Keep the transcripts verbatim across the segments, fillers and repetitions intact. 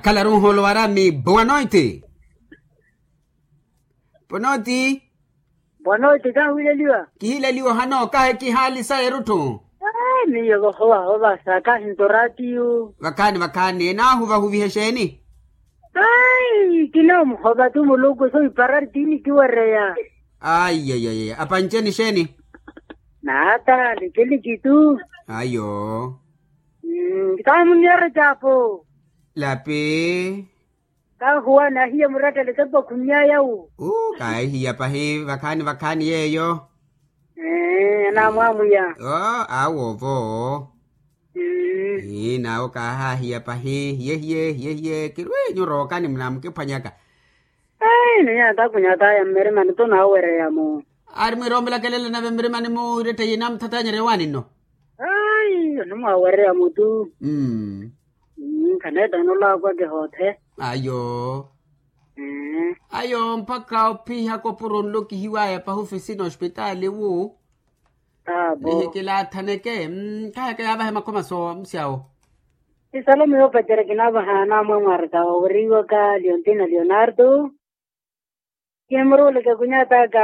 Khalaru nhoolo warami boa noite. Ponoti. Boa noite kahiwileliwa. Kihileliwa ohano kahe kihaali sa erutthu. Miyo vahovahova sa kahinto ratiyu. Vakhaani vakhaani naahuvahuvihe xeeni? Ai kinomuhova tu muluku so iparari tini kiwereya. Aiyaiya apanceni xeeni? Naata likiliki tu. Ayo. Kaamuniyere capo. Lapi. Kahuwa nahiya murattele tepo khunyayawu. Kahiya pahi vakhaani vakhaani yeeyo. Anamwamuya. Awo vo. Nawo kahahiya pahi hiyehiye hiyehiye kirwinyu rookani munamukiphwanyaka. Ai niya takunyataya mmirimani to nawereya mu. Ari mwirompelaka elelo nave mmirimani mu iretteiye namuthatanyerya ewaani nno. Ai onimwawereya mu tu. Khaneetta onolaakwake hoothe. Ayo. Ayo mpakha ophihaka opuro nlo kihiwaya pahi ofisina ospitaali wu. Nihikilaathaneke. Kaheke yaavahe makhoma so musyawo. Isalome yoopacerya kinaavaha namwe mwarika waweriwaka leontina leonardo. Kimuruleke kunyataka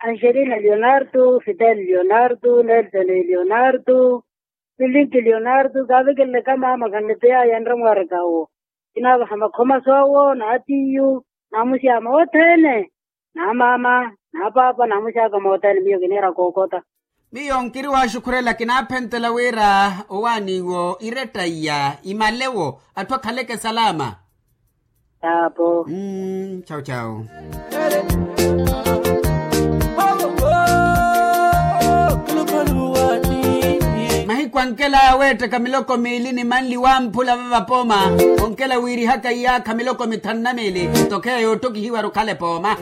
angelina leonardo fidel leonardo nelson leonardo. Filinki leonardo kaavekeleleka maama khanlipeyaya nramwarika wo. Kinaavaha makhoma soowo naatiyu namusyama othene. Namaama napaapa namusyaka mothene miyo kiniira kookota. Miyo nkiri waxukhurela kinaaphentela wira owaaniwo iretta iya imalewo atthu akhaleke salama. Taapo. Chau chau. Mahiku ankela aweettaka miloko miili ni manli wamphula vavapooma. Onkela wiirihaka iyaakha miloko mithanu na miili. Tokheya yoottokihiwaru khale pooma.